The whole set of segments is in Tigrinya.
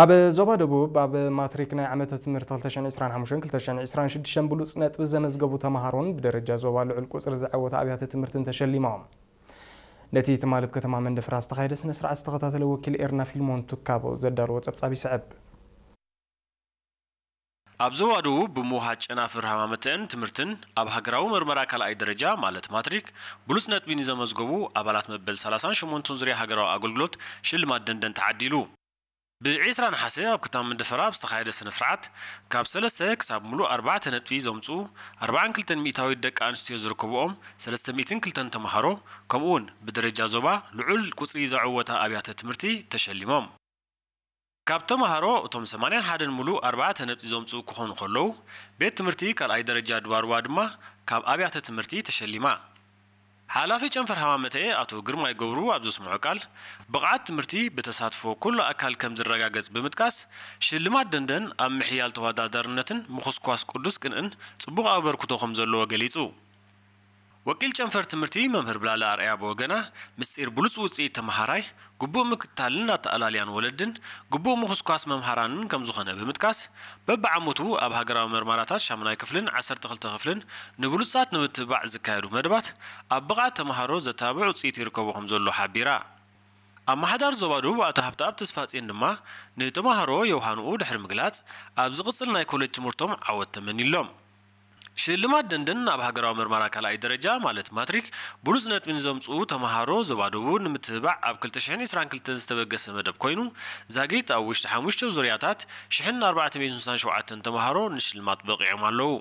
ኣብ ዞባ ደቡብ ኣብ ማትሪክ ናይ ዓመተ ትምህርቲ ክልተ ሽሕን ዕስራን ሓሙሽተን ክልተ ሽሕን ዕስራን ሽዱሽተን ብሉጽ ነጥቢ ዘመዝገቡ ተምሃሮን ብደረጃ ዞባ ልዑል ቁጽሪ ዝዓወተ ኣብያተ ትምህርትን ተሸሊሞም። ነቲ ትማሊ ኣብ ከተማ መንደፈራ ዝተኻየደ ስነ ስርዓት ዝተኸታተለ ወኪል ኤርና ፊልሞን ቱካቦ ዘዳለዎ ጸብጻብ ይስዕብ። ኣብ ዞባ ደቡብ ብምውሃድ ጨናፍር ሃማመተን ትምህርትን ኣብ ሃገራዊ መርመራ ካልኣይ ደረጃ ማለት ማትሪክ ብሉጽ ነጥቢ ንዘመዝገቡ ኣባላት መበል ሰላሳን ሸሞንተን ዙርያ ሃገራዊ ኣገልግሎት ሽልማት ደንደን ተዓዲሉ። ብ ዕስራ ነሓሰ ኣብ ከተማ መንደፈራ ኣብ ዝተኻየደ ስነ ስርዓት ካብ ሰለስተ ክሳብ ሙሉእ ኣርባዕተ ነጥቢ ዘምጽኡ ኣርባዓን ክልተን ሚእታዊት ደቂ ኣንስትዮ ዝርከብኦም ሰለስተ ሚእትን ክልተን ተምሃሮ ከምኡውን ብደረጃ ዞባ ልዑል ቁጽሪ ዘዕወታ ኣብያተ ትምህርቲ ተሸሊሞም። ካብ ተምሃሮ እቶም ሰማንያን ሓደን ሙሉእ ኣርባዕተ ነጥቢ ዘምጽኡ ክኾኑ ከለዉ፣ ቤት ትምህርቲ ካልኣይ ደረጃ ድባርዋ ድማ ካብ ኣብያተ ትምህርቲ ተሸሊማ። ሓላፊ ጨንፈር ሃማመተኤ ኣቶ ግርማይ ገብሩ ኣብ ዘስምዖ ቃል፣ ብቕዓት ትምህርቲ ብተሳትፎ ኩሉ ኣካል ከም ዝረጋገጽ ብምጥቃስ፣ ሽልማት ደንደን ኣብ ምሕያል ተወዳዳርነትን ምኹስኳስ ቅዱስ ቅንእን ጽቡቕ ኣበርክቶ ከም ዘለዎ ገሊጹ። ወኪል ጨንፈር ትምህርቲ መምህር ብላለ ኣርኣያ ብወገና፣ ምስጢር ብሉጽ ውጽኢት ተመሃራይ ግቡእ ምክትታልን ኣተኣላልያን ወለድን ግቡእ ምኹስኳስ መምሃራንን ከም ዝኾነ ብምጥቃስ፣ በብዓመቱ ኣብ ሃገራዊ መርማራታት ሻሙናይ ክፍልን ዓሰርተ ክልተ ክፍልን ንብሉጻት ንምትብባዕ ዝካየዱ መደባት ኣብ ብቕዓት ተመሃሮ ዘተባብዕ ውጽኢት ይርከቦ ከም ዘሎ ሓቢራ። ኣመሓዳሪ ዞባ ደቡብ ኣቶ ሃብተኣብ ተስፋጽዮን ድማ ንተመሃሮ የውሃንኡ ድሕሪ ምግላጽ ኣብ ዝቕጽል ናይ ኮሌጅ ትምህርቶም ዓወት ተመኒሎም። ሽልማት ደንደን ኣብ ሃገራዊ መርመራ ካልኣይ ደረጃ ማለት ማትሪክ ብሉጽ ነጥቢ ንዘምጽኡ ተመሃሮ ዞባ ደቡብ ንምትብባዕ ኣብ ክልተ ሽሕን ዕስራን ክልተን ዝተበገሰ መደብ ኮይኑ ዛጊት ኣብ ውሽጢ ሓሙሽተ ዙርያታት ሽሕን ኣርባዕተ ሚእትን ስሳን ሸውዓተን ተመሃሮ ንሽልማት በቒዖም ኣለዉ።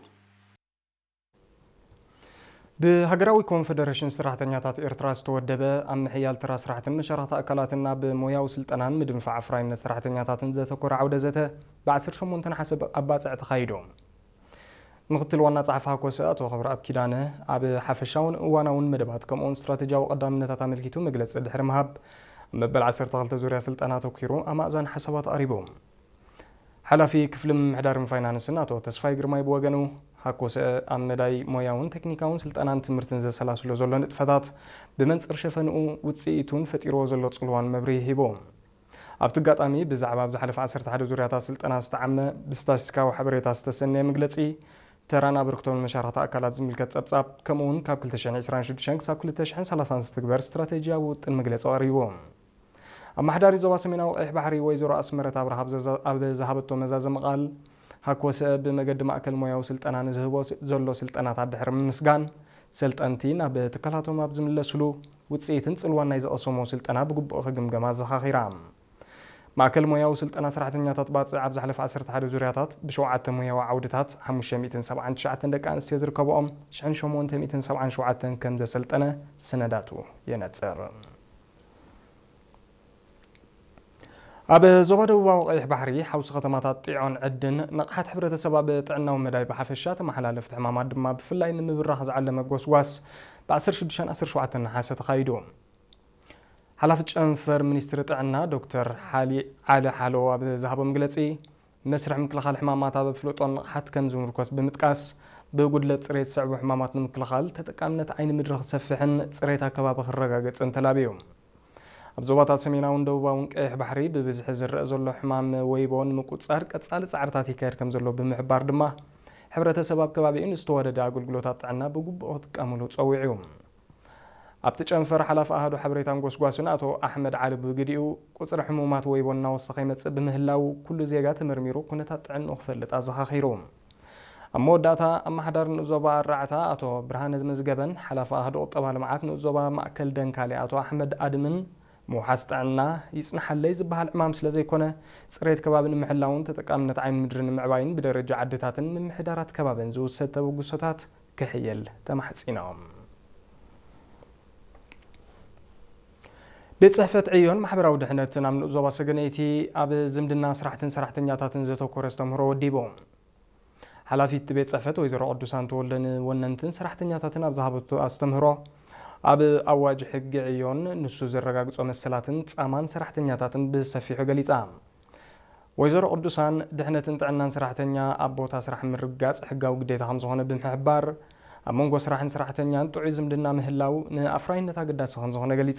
ብሃገራዊ ኮንፈደረሽን ሰራሕተኛታት ኤርትራ ዝተወደበ ኣብ ምሕያል ተራ ስራሕትን መሻርኽቲ ኣካላትን ናብ ሞያዊ ስልጠናን ምድንፋዕ ኣፍራይነት ሰራሕተኛታትን ዘተኮረ ዓውደ ዘተ ብ ዓሰርተ ሸሞንተ ነሓሰ ኣባጽዕ ተኻይዱ። ምክትል ዋና ጸሓፊ ሃኮሰ ኣቶ ክብረኣብ ኪዳነ ኣብ ሓፈሻውን እዋናውን መደባት ከምኡውን ስትራቴጂያዊ ቀዳምነታት ኣመልኪቱ መግለጺ ድሕሪ ምሃብ፣ ኣብ መበል ዓሰርተ ክልተ ዙርያ ስልጠና ኣተኲሩ ኣማእዛን ሓሳባት ኣቕሪቡ። ሓላፊ ክፍሊ ምምሕዳርን ፋይናንስን ኣቶ ተስፋይ ግርማይ ብወገኑ፣ ሃኮሰ ኣብ መዳይ ሞያውን ቴክኒካውን ስልጠናን ትምህርትን ዘሰላስሎ ዘሎ ንጥፈታት ብመንጽር ሸፈንኡ ውጽኢቱን ፈጢርዎ ዘሎ ጽልዋን መብርሂ ሂቡ። ኣብቲ ኣጋጣሚ ብዛዕባ ኣብ ዝሓለፈ ዓሰርተ ሓደ ዙርያታት ስልጠና ዝተዓመ ብስታስቲስቲካዊ ሓበሬታ ዝተሰነየ መግለጺ፣ ተራን ኣበርክቶን መሻርኽቲ ኣካላት ዝምልከት ጸብጻብ፣ ከምኡውን ካብ ክልተ ሽሕን ዕስራን ሽዱሽተን ክሳብ ክልተ ሽሕን ሰላሳን ዝትግበር ስትራቴጂያዊ ውጥን መግለጺ ቀሪቡ። ኣመሓዳሪ ዞባ ሰሜናዊ ቀይሕ ባሕሪ ወይዘሮ ኣስመረት ኣብርሃ ኣብ ዘዛ-፣ ኣብ ዝሃበቶ መዛዘሚ ቃል፣ ሃኮሰ ብመገዲ ማእከል ሞያዊ ስልጠና ንዝህቦ ስ-፣ ዘሎ ስልጠናታት ድሕሪ ምምስጋን፣ ሰልጠንቲ ናብ ትካላቶም ኣብ ዝምለስሉ ውጽኢትን ጽልዋን ናይ ዝቐሰሞ ስልጠና ብግቡእ ክግምገም ኣዘኻኺራ። ማእከል ሞያዊ ስልጠና ሰራሕተኛታት ባጽዕ ኣብ ዝሓለፈ ዓሰርተ ሓደ ዙርያታት ብሸውዓተ ሞያዊ ዓውድታት ሓሙሽተ ሚእትን ሰብዓን ትሽዓተን ደቂ ኣንስትዮ ዝርከብኦም ሽሕን ሸሞንተ ሚእትን ሰብዓን ሸውዓተን ከም ዘሰልጠነ ሰነዳቱ የነጽር። ኣብ ዞባ ደቡባዊ ቀይሕ ባሕሪ ሓውሲ ከተማታት ጢዖን ዕድን ንቕሓት ሕብረተሰብ ኣብ ጥዕናዊ መዳይ ብሓፈሻ ተመሓላለፍቲ ሕማማት ድማ ብፍላይ ንምብራኽ ዝዓለመ ጎስጓስ ብ ዓሰርተ ሽዱሽተን ዓሰርተ ሸውዓተን ነሓሰ ተኻይዱ። ሓላፊ ጨንፈር ሚኒስትሪ ጥዕና ዶክተር ሓሊ ዓሊ ሓሎ ኣብ ዝሃቦ መግለጺ፣ መስርሕ ምክልኻል ሕማማት ኣብ ኣፍልጦን ንቕሓት ከም ዝምርኮስ ብምጥቃስ፣ ብጉድለት ጽሬት ዝስዕቡ ሕማማት ንምክልኻል ተጠቃምነት ዓይኒ ምድሪ ክሰፍሕን ጽሬት ኣከባቢ ክረጋገጽን ተላብዩ። ኣብ ዞባታት ሰሜናውን ደቡባውን ቀይሕ ባሕሪ ብብዝሒ ዝረአ ዘሎ ሕማም ወይቦ ንምቁጽጻር ቀጻሊ ጻዕርታት ይካየድ ከም ዘሎ ብምሕባር ድማ፣ ሕብረተሰብ ኣብ ከባቢኡ ንዝተዋደደ ኣገልግሎታት ጥዕና ብግቡእ ክጥቀምሉ ጸዊዑ። ኣብቲ ጨንፈር ሓላፊ ኣሃዱ ሓበሬታን ጎስጓስን ኣቶ ኣሕመድ ዓሊ ብግዲኡ፣ ቁጽሪ ሕሙማት ወይቦ እናወሰኸ ይመጽእ ብምህላዉ፣ ኩሉ ዜጋ ተመርሚሩ ኩነታት ጥዕንኡ ክፈልጥ ኣዘኻኺሩ። ኣብ መወዳእታ፣ ኣመሓዳሪ ንኡስ ዞባ ኣራዕታ ኣቶ ብርሃነ መዝገበን ሓላፊ ኣሃዱ ቁጠባ ልምዓት ንኡስ ዞባ ማእከል ደንካሊ ኣቶ ኣሕመድ ኣድምን፣ ምውሓስ ጥዕና ይጽንሓለይ ዝበሃል ዕማም ስለ ዘይኮነ፣ ጽሬት ከባቢ ንምሕላውን ተጠቃምነት ዓይኒ ምድሪ ንምዕባይን ብደረጃ ዓድታትን ምምሕዳራት ከባብን ዝውሰድ ተበግሶታት ክሕየል ተማሕጺኖም። ቤት ጽሕፈት ዕዮን ማሕበራዊ ድሕነትን ኣብ ንኡስ ዞባ ሰገነይቲ ኣብ ዝምድና ስራሕትን ሰራሕተኛታትን ዘተኮረ ኣስተምህሮ ወዲቡ። ሓላፊት ቤት ጽሕፈት ወይዘሮ ቅዱሳን ተወልደ ንወነንትን ሰራሕተኛታትን ኣብ ዝሃበቶ ኣስተምህሮ፣ ኣብ ኣዋጅ ሕጊ ዕዮን ንሱ ዘረጋግጾ መሰላትን ጻማን ሰራሕተኛታትን ብሰፊሑ ገሊጻ። ወይዘሮ ቅዱሳን፣ ድሕነትን ጥዕናን ሰራሕተኛ ኣብ ቦታ ስራሕ ምርግጋጽ ሕጋዊ ግዴታ ከም ዝኾነ ብምሕባር፣ ኣብ መንጎ ስራሕን ሰራሕተኛን ጥዑይ ዝምድና ምህላው ንኣፍራይነት ኣገዳሲ ከም ዝኾነ ገሊጻ።